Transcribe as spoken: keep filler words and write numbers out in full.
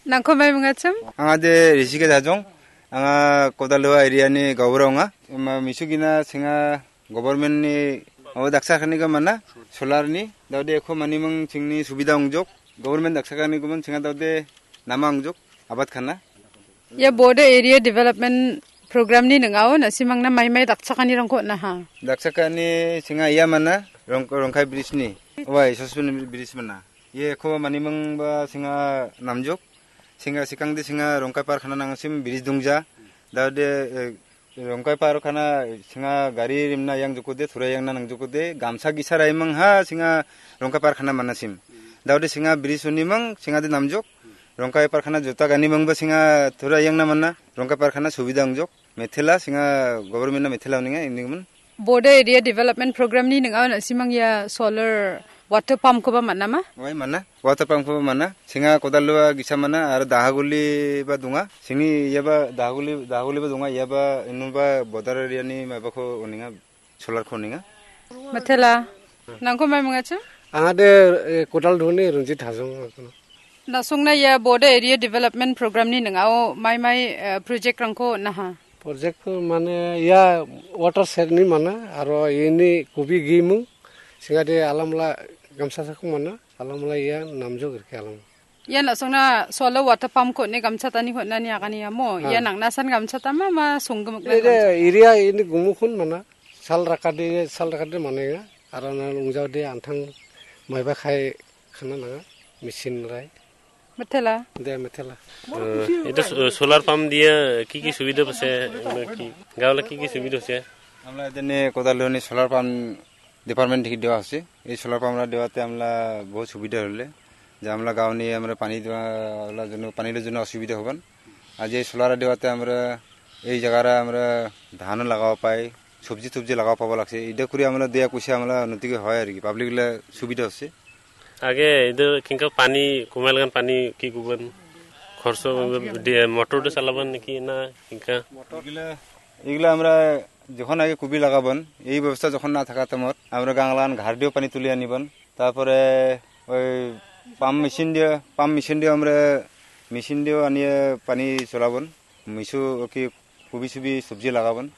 Nangko mai mingachim? Angade Rishikesh Hajong, anga Kodalua area ni gaubura ong·a. Ema misugina singa government ni o daksa kani ko mana, solar ni, daude eko manimung chingni subida ongjok, government daksa kani ko man chinga daude nama ongjok, abat khana. Ia Bodo Area Development Program ni ning·ao na·simangna mai mai dakchakanirangko on·aha. Dakchakani singa ia mana, Rong-, Rongkai Bridge ni. Wai, Sospen Bridge mana. Ye ko manimung ba singa namjok. Singa sikangde singa Rongkai par khana nangsim bridge dongja. Daude, eh, Rongkai par khana singa gari rimna yang jokode, thura yang na nang jokode, gamsa gisa raimang ha singa Rongkai par khana manasim. Daude singa bridge unimang singa de namjok. Rongkai par khana jota gani mangba singa thura yang na mana. Rongkai par khana subida ongjok. Methela singa government na methela uninga ini man. Bodo Area Development Program ni ning·ao na·simang ia solar water pump koba man·ama? Wai mana? Water pump koba mana? Singa Kodalua gisa mana, aro Dahaguli ba donga. Singni ia ba Dahaguli, Dahaguli ba donga, ia ba inu ba border area ni maiba ko uninga, solar ko uninga. Methela. Nangko mai mingachim? Angade, eh, Kodal Dhoni Runjit Hajong. Na·songna ia Bodo Area Development Program ni ning·ao mai mai, eh, project rangko on·aha? Project mane ia water shed ni mana, aro ini kubi gimung, singade alamla gamsa sako mana, alamla ia namjok rike alam. Ia na·songna solar water pump ko ne gamchatani hon·ani agani amo? Ha. Ia nangnasan gamchatama ma songgimik Ede area ini gumukun mana, sal rakade, sal rakade mana ya, aro na lungjaude antang maiba khai khana nanga, machine rai. Methela. De methela. Eh, itu so-, solar pump dia ki ki subida pase, ki, gaula ki ki subida pase? আমরা এদিনে কোদাল ধরনি solar pump department থেকে দেওয়া হচ্ছে। এই solar pump আমরা দেওয়াতে আমরা বহুত সুবিধা হলে যে আমরা গাঁও নিয়ে আমরা পানি দেওয়া, ওগুলোর জন্য, পানির জন্য অসুবিধা হবেন। আর যে সোলার দেওয়াতে আমরা এই জায়গারা আমরা ধানও লাগাও পাই, সবজি টবজি লাগাও পাবো লাগছে। এটা করে আমরা দেয়া কুশে আমরা উন্নতি হয় আর কি, পাবলিক গুলা সুবিধা হচ্ছে। আগে এদের কিংকা পানি কমাইল গান পানি কি গুবন খরচ দিয়ে মোটর দিয়ে চালাবেন নাকি না কিংকা? এগুলা, এগুলা আমরা যখন আগে কুবি লাগাবন, এই ব্যবস্থা যখন না থাকা তেমন আমরা গাংলান ঘাট দিয়েও পানি তুলে আনিবন। তারপরে ওই পাম্প মেশিন দিয়ে, পাম্প মেশিন দিয়ে আমরা মেশিন দিয়েও আনিয়ে পানি চলাবন। মিশু কি কুবি সুবি সবজি লাগাবন।